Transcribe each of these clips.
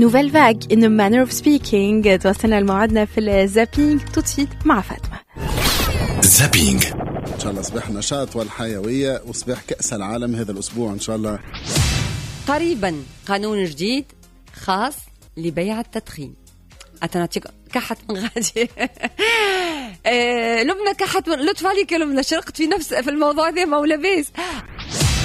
Nouvelle Vague، In a Manner of Speaking. توصلنا لموعدنا في ال zapping tout de suite مع فاطمه. zapping. ان شاء الله صباح النشاط والحيوية وصباح كاس العالم هذا الاسبوع ان شاء الله. قريبا قانون جديد خاص لبيع التدخين. أتنعطيك كحت من غادي. لبنى كحت من لطف عليك يا لبنى، شرقت في نفس في الموضوع ذا، ما هو لاباس.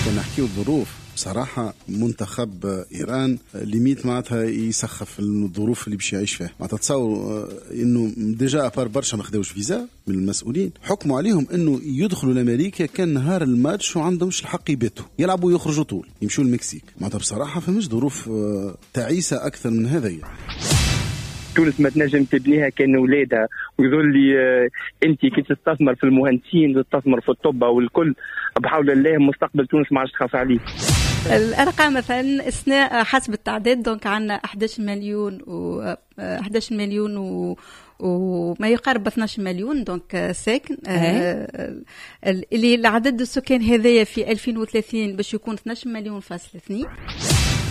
كان نحكيو الظروف بصراحة، منتخب إيران limite معناتها يسخف الظروف اللي باش يعيش فيها. معناتها تصور انه déjà à part برشا ما خداوش فيزا من المسؤولين، حكموا عليهم انه يدخلوا لامريكا كان نهار الماتش وعندهمش الحق يباتوا، يلعبوا ويخرجوا طول يمشوا المكسيك. معناتها بصراحة فماش ظروف تعيسة أكثر من هذا. تونس ما تنجم تبنيها كان ولادها، ويظل لي انت كي تستثمر في المهندسين تستثمر في الطب والكل، بحول الله مستقبل تونس ما عادش تخاف عليه. الارقام مثلا اثناء حسب التعداد، donc عندنا 11 مليون و 11 مليون وما يقارب 12 مليون donc ساكن، اللي العدد السكان هذايا في 2030 باش يكون 12 مليون فاصل 2.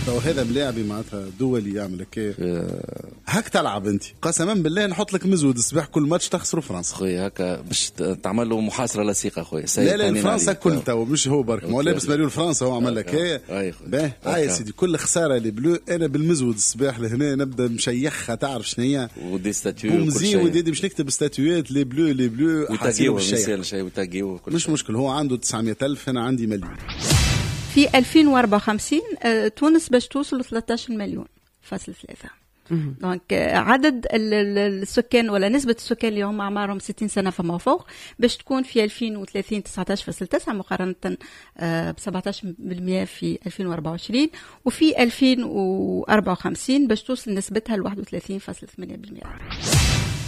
تو هذا ملاعبي معناتها دولي يعمل هكا، هاك تلعب انت، قسما بالله نحط لك مزود الصباح كل ماتش تخسروا فرنسا. خويا هكا باش تعمل له محاصرة لصيقه خويا. لا لا، فرنسا كل تو مش هو برك، ما هو لابس مريول فرنسا هو عمل لك هي. باهي هاي يا سيدي، كل خسارة les bleus انا بالمزود الصباح لهنا نبدا مشيخها، تعرف شنو هي و des statuts. ومزي وديدي باش نكتب ستاتيوات les bleus les bleus. وتاجيو شيء وتاجيو. مش مشكل، هو عنده 900 ألف، انا عندي مليون. في 2054 تونس باش توصل 13 مليون فاصل 3. donc عدد السكان ولا نسبة السكان اللي هم أعمارهم 60 سنة فما فوق باش تكون في 2030 19.9 مقارنة ب 17% في 2024، وفي 2054 باش توصل نسبتها ل 31.8%.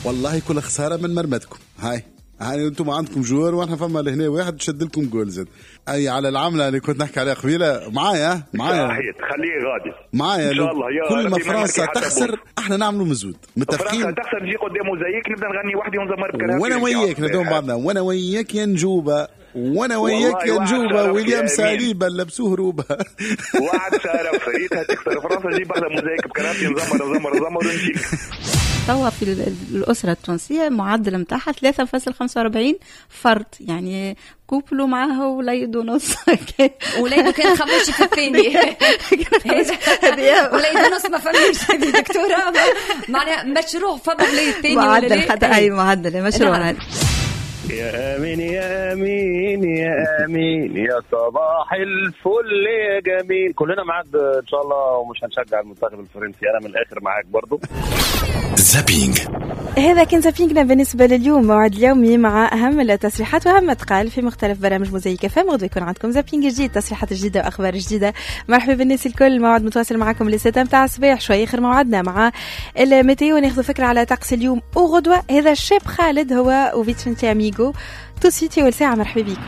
والله كل خسارة من مرمتكم. هاي هاي انتم عندكم joueur واحنا فما لهنا واحد شد لكم جول زاد. اي على العملة اللي كنت نحكي عليها قبيله، معايا معايا. صحيح، خليه غادي. معايا. ان شاء الله يا كل ما ربي فرنسا نماركي حتى تخسر بول. احنا نعملوا مزود، متفقين؟ فرنسا تخسر نجي قدام موزايك نبدا نغني وحدي ونزمر بكرهبتي. وانا وياك ندوم بعضنا، وانا وياك يا نجوبه، وانا وياك والله يا وعد نجوبه. شرف ويليام يا أمين. ساليبا لبسوه روبه. وعد شرف، ريتها تخسر فرنسا نجيب بحذا موزايك بكرهبتي نزمر نزمر نزمر ونمشي. توا في الأسرة التونسية معدل متاعها 3.45 فرد، يعني couple معاه وليد ونص. وليد كان خموش في الثاني، وليد ونص ما فماش هذه دكتورة، معناها مشروع فما وليد ثاني ولا معدل لا؟ حتى أي معدل مشروع. نعم. يا امين يا امين يا امين، يا صباح الفل يا جميل. كلنا معاك ان شاء الله ومش هنشجع المنتخب الفرنسي، انا من الاخر معاك برضو. zapping. هذا كان zapping نا بالنسبة لليوم، موعد اليومي مع أهم التصريحات وأهم ما تقال في مختلف برامج موزايك اف ام. غدوة يكون عندكم zapping جديد، تصريحات جديدة وأخبار جديدة. مرحبا بالناس الكل، موعد متواصل معكم للستة متاع الصباح. شوي آخر موعدنا مع ال météo، ناخذ فكرة على طقس اليوم وغدوة. هذا الشاب خالد هو وفيتشنتي أميغو tout de suite أول ساعة، مرحبا بكم.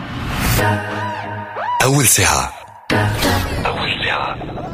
أول ساعة، أول ساعة.